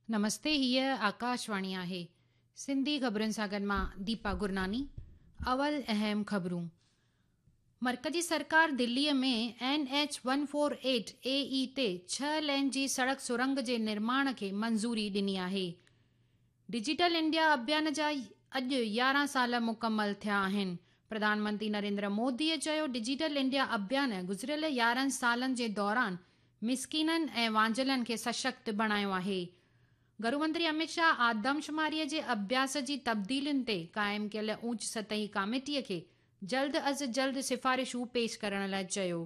نمستي، هيء آڪاشواڻي آهي. سنڌي خبرن سان گڏ مان ديپا گرناني. اول اهم خبرون. مرڪزي سرڪار دليء ۾ N H one four eight A E تي ڇهه لين جي سڙڪ سرنگ جي نرماڻ کي منظوري ڏني آهي. ڊجيٽل انڊيا اڀيان جا اڄ 11 سال مڪمل ٿيا آهن. پرڌان منتري نريندر موديء چيو ڊجيٽل انڊيا اڀيان گذريل 11 سالن جي دوران مسڪينن ۽ وانجهيلن کي سشڪت بڻايو آهي. گهرو منتري امت شاهه آدمشماريء جي اڀياس جي تبديلين تي قائم ڪيل اوچ سطحي ڪاميٽيء کي جلد از جلد سفارشون پيش ڪرڻ لاء چيو.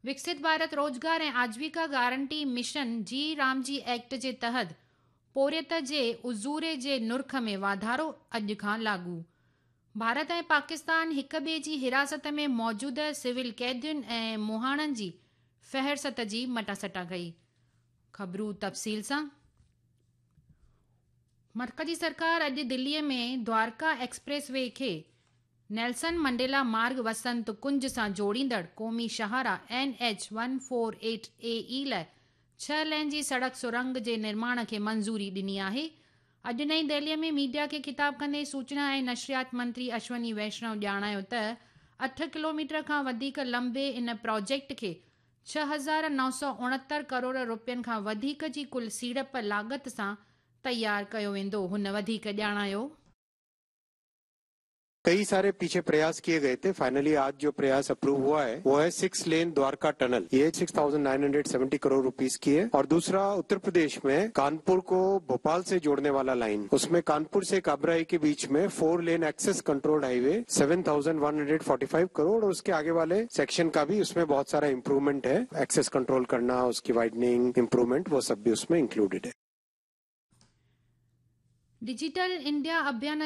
وڪست ڀارت روزگار ۽ آجيوڪا گارنٽي مشن جي رامجي ايڪٽ جي تحت پورهيت جي اجوري جي نرخ ۾ واڌارو اڄ کان لاڳو. ڀارت ۽ پاڪستان هڪ ٻئي جي حراست ۾ موجوده سول قيدين ۽ مهاڻن جي فهرست جي مٽاسٽا ڪئي. خبرون تفصيل سان. مرڪزي سرڪار اڄ دليء ۾ دوارڪا ايڪسپريس وي کي نيلسن منڊيلا مارگ وسنت ڪنج سان جوڙيندڙ قومي شاهراهه N H one four eight A E لاء ڇهه لين جي سڙڪ سرنگ جي نرماڻ کي منظوري ڏني آهي. اڄ نئين دهليء ۾ ميڊيا کي خطاب ڪندي سوچنا ۽ نشريات منتري اشوني ويشنو ڄاڻايو ته اٺ ڪلوميٽر کان وڌيڪ لنبي ان پراجيڪٽ کي 6969 ڪروڙ رپين کان وڌيڪ جي ڪل سيڙپ لاڳت سان تيار ڪيو ويندو. هن وڌيڪ ڄاڻايو. कई सारे पीछे प्रयास किए गए थे। फाइनली आज जो प्रयास अप्रूव हुआ है वो है 6 लेन द्वारका टनल, ये 6,970 करोड़ रुपीस की है। और दूसरा उत्तर प्रदेश में कानपुर को भोपाल से जोड़ने वाला लाइन, उसमें कानपुर से काबराई के बीच में 4 lane access controlled highway 7,145 crore और उसके आगे वाले सेक्शन का भी उसमें बहुत सारा इम्प्रूवमेंट है, एक्सेस कंट्रोल करना, उसकी वाइडनिंग, इम्प्रूवमेंट, वो सब भी उसमें इंक्लूडेड है। डिजिटल इंडिया अभियान